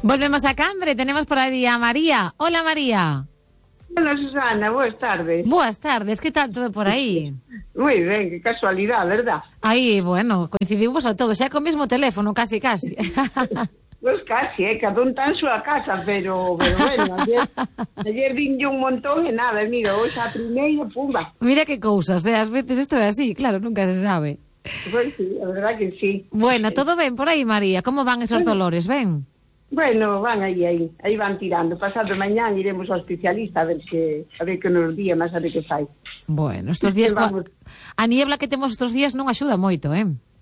Volvemos a Cambre, tenemos por ahí a María. Hola, María. Hola, Susana, boas tardes. Boas tardes, que tal todo por aí? Moi ben, que casualidade, verdad? Aí, bueno, coincidimos a todos, xa co mesmo teléfono, casi. Pois casi, cada un tan súa casa, pero bueno, ayer vinlle un montón e nada, mira, hoxe a primeira, pumba. Mira que cousas, ás veces isto é así, claro, nunca se sabe. Pois sí, a verdad que sí. Bueno, todo ben por aí, María, como van esos dolores, ben? Bueno, van aí van tirando. Pasado mañán iremos ao especialista a ver que nos día, mas a ver que fai. Bueno, estos días a niebla que temos estes días non axuda moito,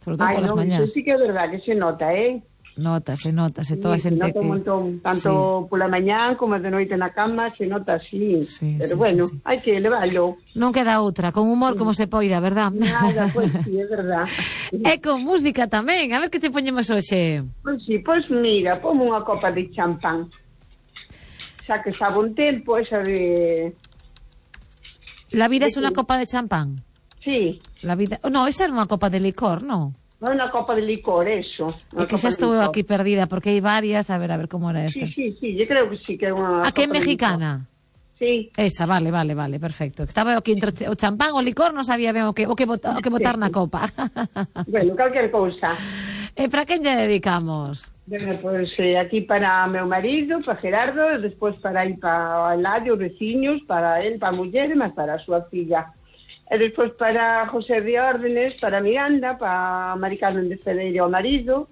sobre todo polas mañás. Eso sí que é verdad que se nota, Nótase, toda a xente que... Se nota un montón, tanto pola mañán como de noite na cama, se nota así. Pero bueno, hai que leválo. Non queda outra, con humor como se poida, verdad? Nada, pois sí, é verdad. E con música tamén, a ver que te poñemos hoxe. Pois sí, pois mira, pomo unha copa de champán. Xa que sabe un tempo, esa de... La vida es una copa de champán? Sí. La vida... No, esa era unha copa de licor, non? Non é unha copa de licor, eso. É que xa estou aquí perdida, porque hai varias, a ver como era esta. Sí, yo creo que sí, que é unha... A que é mexicana? Sí. Esa, vale, perfecto. Estaba aquí entre o champán o licor, non sabía ben o que botar na copa. Bueno, calquer cousa. E para quen lle dedicamos? Bueno, pues aquí para meu marido, para Gerardo, despois para ir para Eladio, os veciños, para él, para a muller, e máis para a súa filla. E despois para José de Órdenes, para Miranda, para Mari Carmen de Federer, o marido,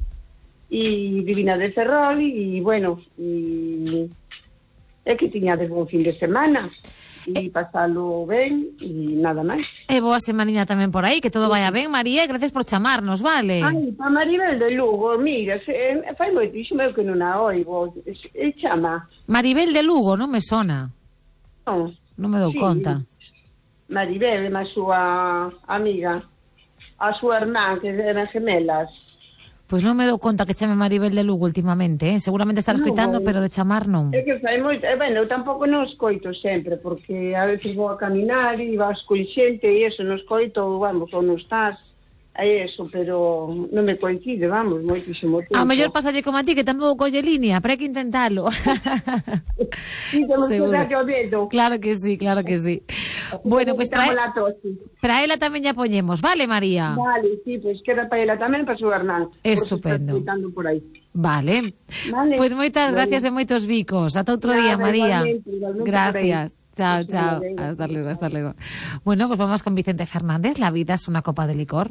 e Divina de Ferrol, e bueno, é que tiñades bon fin de semana, e pasalo ben, e nada máis. E boa semaniña tamén por aí, que todo vaya ben, María, e gracias por chamarnos, vale? Ai, para Maribel de Lugo, mira, fai moitísimo que non a oigo, chama. Maribel de Lugo, non me sona. Non me dou conta. Maribel é a súa amiga, a súa irmán, que eran gemelas. Pois non me dou conta que chame Maribel de Lugo últimamente, seguramente estar escoitando, pero de chamar non. É que fai moito, bueno, eu tampouco non escoito sempre, porque a veces vou a caminar e vas con xente e eso, non escoito, vamos, ou non estás, é eso, pero non me coincide, vamos, moitísimo tempo. A mellor pasalle como a ti, que tampouco colle línea, pero hai que intentalo. Sí, temos que darlle o dedo. Claro que sí. Bueno, pues para ela tamén ya poñemos, vale, María? Vale, sí, pues queda para ela tamén, para su Hernán. Estupendo. Por aí. Vale. Pues moitas gracias e moitos bicos. Ata outro día, María. Igualmente Gracias. Chao. Hasta luego. Bueno, pues vamos con Vicente Fernández. La vida es una copa de licor.